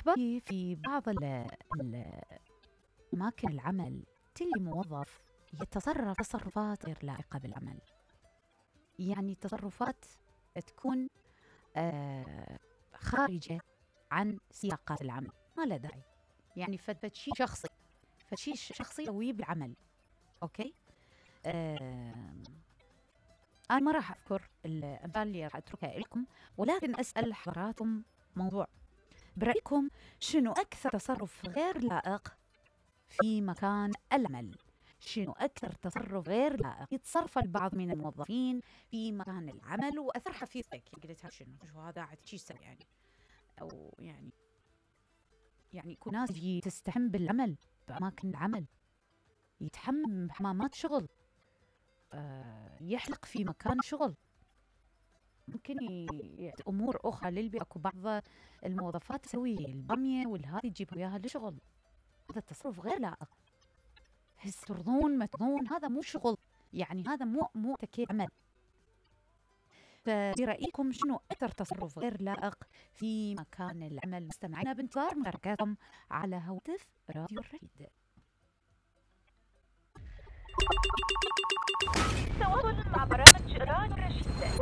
أحبابي، في بعض أماكن العمل تلي موظف يتصرف تصرفات غير لائقة بالعمل، يعني تصرفات تكون خارجة عن سياقات العمل، ما له داعي، يعني فشي شخصي يسويه بالعمل. أوكي، أنا ما راح أذكر الأمثال اللي راح أتركها لكم، ولكن أسأل حضراتكم موضوع: برأيكم شنو أكثر تصرف غير لائق في مكان العمل؟ شنو أكثر تصرف غير لائق يتصرف البعض من الموظفين في مكان العمل وأثر في فيك؟ قلتها شو هذا عاد شو يسوي يعني؟ أو يعني يكون ناس تستحم بالعمل بأماكن العمل، يتحمم بحمامات شغل، يحلق في مكان شغل، ممكن أمور أخرى للبيئة. أكو بعض الموظفات تسوي البامية والهذي تجيب وياها لشغل، هذا التصرف غير لائق. هس ترضون ما ترضون، هذا مو شغل، يعني هذا مو تكي عمل. فرأيكم شنو أكثر تصرف غير لائق في مكان العمل؟ مستمعينا بانتظار مشاركاتكم على هواتف راديو الرشيد. تواصل مع برامج راديو الرشيد.